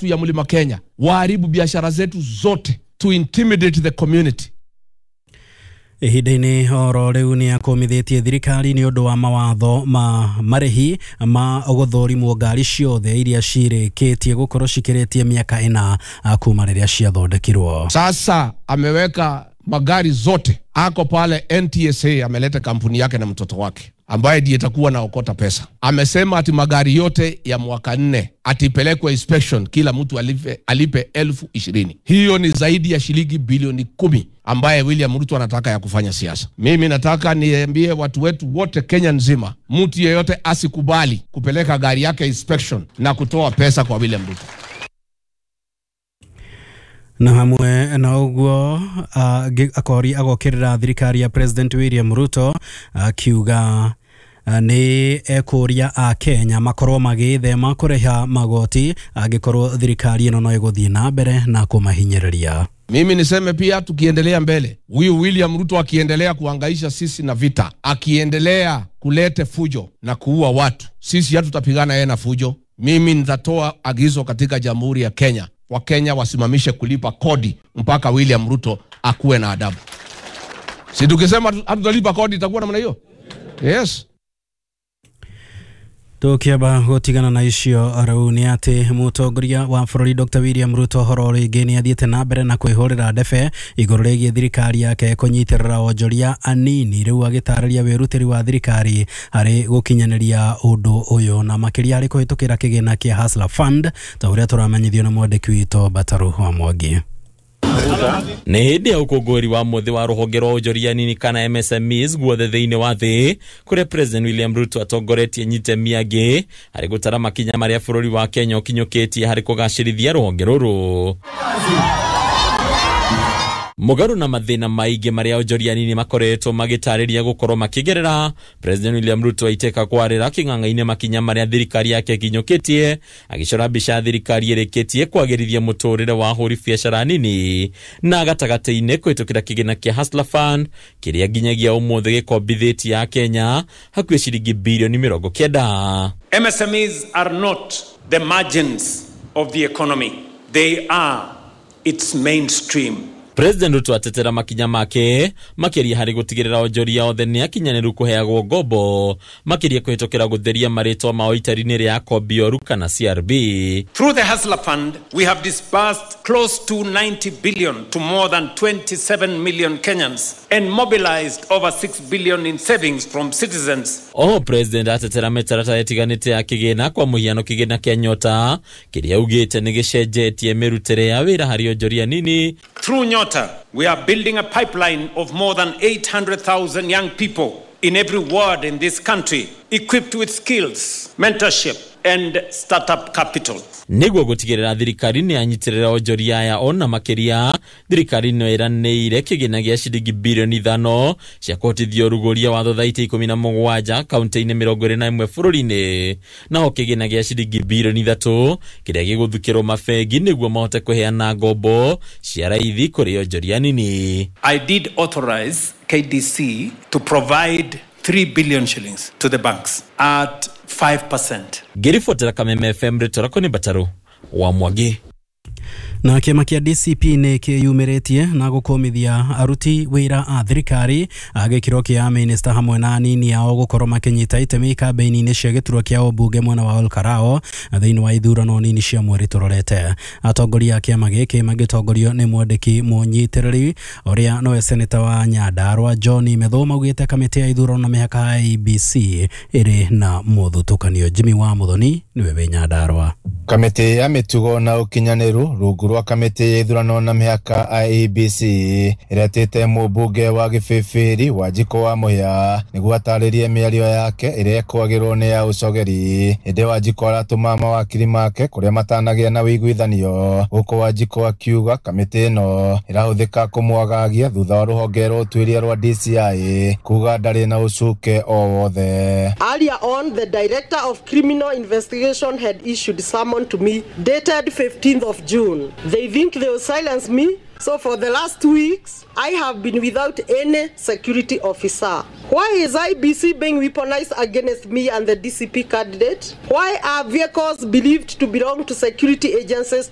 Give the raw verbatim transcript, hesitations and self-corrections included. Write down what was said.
yetu ya Mlima Kenya, waharibu biashara zetu zote, to intimidate the community. Ihinda-inĩ oro rĩu nĩ akũmithĩtie thirikari nĩ ũndũ wa mawatho ma marĩhi ma gũthũrimwo ngari ciothe iria cirĩkĩtie gũkorwo cikĩrĩtie mĩaka ĩna kuma rĩrĩa ciathondekirwo. Sasa ameweka magari zote, ako pale N T S A, ameleta kampuni yake na mtoto wake ambaye ndiye itakuwa na okota pesa. Amesema ati magari yote ya mwaka nne atipelekwe inspection, kila mtu alipe, alipe elfu ishirini. Hiyo ni zaidi ya shilingi bilioni kumi ambaye William Ruto anataka ya kufanya siasa. Mimi nataka niambie watu wetu wote Kenya nzima, mtu yeyote asikubali kupeleka gari yake inspection na kutoa pesa kwa William Ruto. Na hamwe na ũguo akori agokĩrĩra thirikari ya President William Ruto akiuga nĩ ekũria a Kenya makorwo magĩthema kũrĩha magoti angĩkorwo thirikari ĩno no ĩgũthiĩ na mbere na kũmahinyĩrĩria. Mimi niseme pia, tukiendelea mbele, huyu William Ruto akiendelea kuhangaisha sisi na vita, akiendelea kulete fujo na kuua watu, sisi hatutapigana yeye na fujo. Mimi nitatoa agizo katika Jamhuri ya Kenya, Wakenya wasimamishe kulipa kodi mpaka William Ruto akuwe na adabu. Si tukisema hatutalipa kodi itakuwa namna hiyo? Yes. Tukiamba gutigana na icio rĩu nĩ atĩ mũtongoria wa bũrũri Doctor William Ruto horo rĩngĩ nĩ athiĩte na mbere na kwĩhũrĩra ndebe igũrũ rĩgiĩ thirikari yake kũnyitĩrĩra onjoria anini, rĩu agĩtarĩria wĩrutĩri wa thirikari harĩ gũkinyanĩria ũndũ ũyũ na makĩria harĩ kũhĩtũkĩra kĩgĩna kĩa Hustler Fund ta ũrĩa tũramenyithio nĩ mwandĩki witũ Bataru wa Mwangi. Nĩ hĩndĩ ya ũkũngũĩri wa mũthĩ wa rũhonge rwa onjoria nini kana M S M Es guothe thĩinĩ wa thĩ, kũrĩa President William Ruto atongoretie nyitemi angĩ harĩ gũtara makinya marĩa bũrũri wa Kenya ũkinyũkĩtie harĩ kũgacĩrithia rũhonge rũrũ. Mũgarũ na mathĩna maingĩ marĩa onjoria nini makoretwo magĩtarĩria gũkorwo makĩgerera, President William Ruto aitĩka kwarĩra kĩng'ang'a-inĩ makinya marĩa thirikari yake ĩkinyũkĩtie, agĩcora mbica ya thirikari ĩrĩkĩtie kwagĩrithia mũtũrĩre wa ahũri biacara nini na gatagatĩ-inĩ kũhĩtũkĩra kĩgĩna kĩa Hustler Fund kĩrĩa nginyagia ũmũthĩ gĩkombithĩtie a Kenya hakuhĩ ciringi birioni mĩrongo kenda. M S M Es are not the margins of the economy, they are its mainstream. President Ruto atetera makinya make makĩria harĩ gũtigĩrĩra onjoria othe nĩ akinyanĩru kũheagwo ngombo makĩria kũhĩtũkĩra gũtheria marĩtwa mao itari-inĩ rĩa akombi oru kana C R B. Through the Hustler Fund, we have disbursed close to ninety billion to more than twenty-seven million Kenyans and mobilized over six billion in savings from citizens. Oho President atetera mĩtaratara ĩtiganĩte ya kĩgĩna kwa mũhiano kĩgĩna kĩa Nyota kĩrĩa augĩte nĩ gĩcenjetie mĩrutĩre ya wĩra harĩ onjoria nini. Through Nyota, we are building a pipeline of more than eight hundred thousand young people in every ward in this country, equipped with skills, mentorship, and startup capital. Nĩguo gũtigĩrĩra thirikari nĩ yanyitĩrĩra onjoria aya ona makĩria, thirikari no ĩranĩire kĩgĩna gĩa ciringi birioni ithano cia kũhotithia ũrugũria wa thothaitĩ ikũmi na mũgwanja kaunti-inĩ mĩrongo ĩrĩ na ĩmwe bũrũri-inĩ, naho kĩgĩna gĩa ciringi birioni ithatũ kĩrĩa gĩgũthukĩrwo mabengi nĩguo mahote kũheana ngombo cia raithi kũrĩ onjoria nini. I did authorize K D C to provide three billion shillings to the banks at five percent. Ngĩribotera Kameme F M rĩtwa rĩakwa nĩ Bataru wa Mwangi. Na kĩama kĩa D C P nĩ kĩyumĩrĩtie na gũkũmithia aruti wĩra a thirikari a gĩkĩro kĩa minista hamwe na anini ao gũkorwo makĩnyita itemi kambĩini-inĩ cia gĩturwa kĩa ũmbunge mwena wa Olkarao thĩinĩ wa ithurano nini cia mweri tũrorete. Atongoria a kĩama gĩkĩ magĩtongorio nĩ mwandĩki mũnyitĩrĩri ũrĩa nowe seneta wa Nyandarua John Methu maugĩte kamĩtĩ ya ithurano na mĩhaka ya I E B C ĩrĩ na mũthutũkanio. Jimmy wa Muthoni nĩwe wĩ Nyandarua. Kamĩtĩ ya mĩtugo na ũkinyanĩru rungu rwa kamĩtĩ ya ithurano na mĩhaka I E B C ĩretĩte mũmbunge wa Gĩbĩbĩri Wanjikũ wa Mũhĩa nĩguo atarĩrie mĩario yake ĩrĩa ĩkwagĩrwo nĩ ya ũcogeri. Ĩndĩ Wanjikũ aratũma mawakiri make kũrĩa matanagĩa na ũiguithanio, gũkũ Wanjikũ akiuga kamĩtĩ ĩno ĩrahũthĩka kũmwagagia thutha wa rũhonge rwa ũtuĩria rwa D C I kuga ndarĩ na ũcuke o wothe. Earlier on, the Director of Criminal Investigation had issued summon to me dated fifteenth of June. They think they will silence me. So for the last two weeks, I have been without any security officer. Why is I B C being weaponized against me and the D C P candidate? Why are vehicles believed to belong to security agencies